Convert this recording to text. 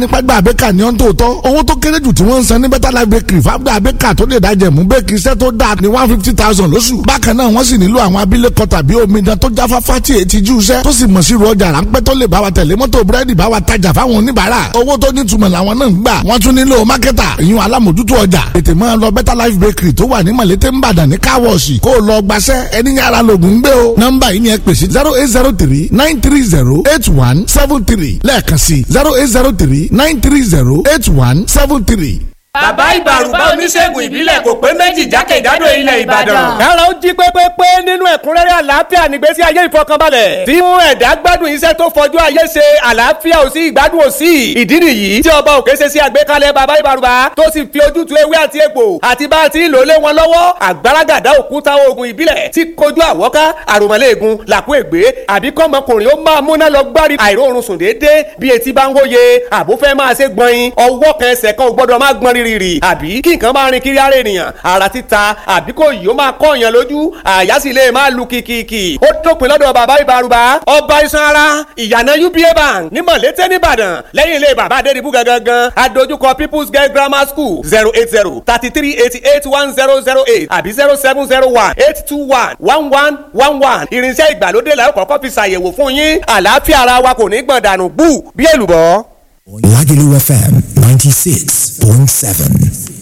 Nípa gba àbẹ́kà ní ọ́n tó tọ́, owó tó kéré jù tí wọ́n ń san ní Better Life Bakery fáwọn àbẹ́kà tó lè dájẹ̀ mú bẹ́ẹ̀kì iṣẹ́ tó dáa ní 150,000 lóṣù. Bákan náà wọ́n sì nílò àwọn abilékọ tàbí omidan tó jáfáfá tí èyí ti jú iṣẹ́ tó sì mọ̀ sí ru ọjà ráńpẹ́ tó lè bá wa tẹ̀lé mọ́tò búrẹ́dì, bá wa tajà fáwọn oníbàárà. Owó tó nítumọ̀ làwọn náà ń gbà. Wọ́n tún nílò mákẹ́tà, ìyún alámòjútó ọjà. Tètè máa lọ Better Life Bakery tó wà ní Mọ̀lété Ńbàdàn ní káwọ̀ọ̀sì, kó o lọ gbaṣẹ́ ẹni yàrá lògùn gbé o. Nọ́mbà yìí ni ẹ pèsè: 08039308173. Lẹ́ẹ̀kan sí, 08039308173. Bàbá Ìbàrùbá, oníṣègùn ìbílẹ̀ kò pé méjì jákèjádò ilẹ̀ Ìbàdàn. Kára ó jí pépépé nínú ẹ̀kúnrẹ́rẹ́ àlàáfíà nígbésí ayé ìfọkànbalẹ̀. Tí mú ẹ̀dá gbádùn iṣẹ́ tó fojú ayé ṣe, àlàáfíà ò sí, ìgbádùn ò sí. Ìdí nìyí tí ọba òkè ṣe sí àgbékalẹ̀ bàbá Ìbàrùbá tó sì fi ojútùú ewé àti egbò àti bá a ti ń lò lé wọn lọ́wọ́. Àgbàràgàdá òkúta oògùn ìbílẹ̀ tí kojú àwọ́ká, àròmọ̀lẹ́ẹ̀gùn, làkú ègbé, àbí kọ́mọkùnrin ó máa múná lọ gbárí àìróorun sùn déédéé bí etí bá ń hóye, àbó fẹ́ máa ṣe gbọ̀nyin, ọwọ́ kan ẹsẹ̀ kan ò gbọ́dọ̀ máa gbọ́n rírì, àbí kí nǹkan máa rin kiri ara ènìyàn, ara títa, àbí kò yìí ó máa kọ́ èèyàn lójú, àyà sì lè máa lu kìkìkì. Ó dópin lọ́dọ̀ bàbá Ìbàrùbá, ọba iṣan ara, ìyànà UBA Bank ní Mọ̀lété nìbàdàn, lẹ́yìn ilé bàbá Adédìbú gangan, adójúkọ People's Girl Grammar School. 08033881008 àbí 07018211111. Irinṣẹ́ ìgbàlódé la ó kọ́kọ́ fi ṣàyẹ̀wò fún yín. Àlàáfíà ara wa kò ní gbọ̀n dànù bú bí èlùbọ́. Lagelu FM 96.7.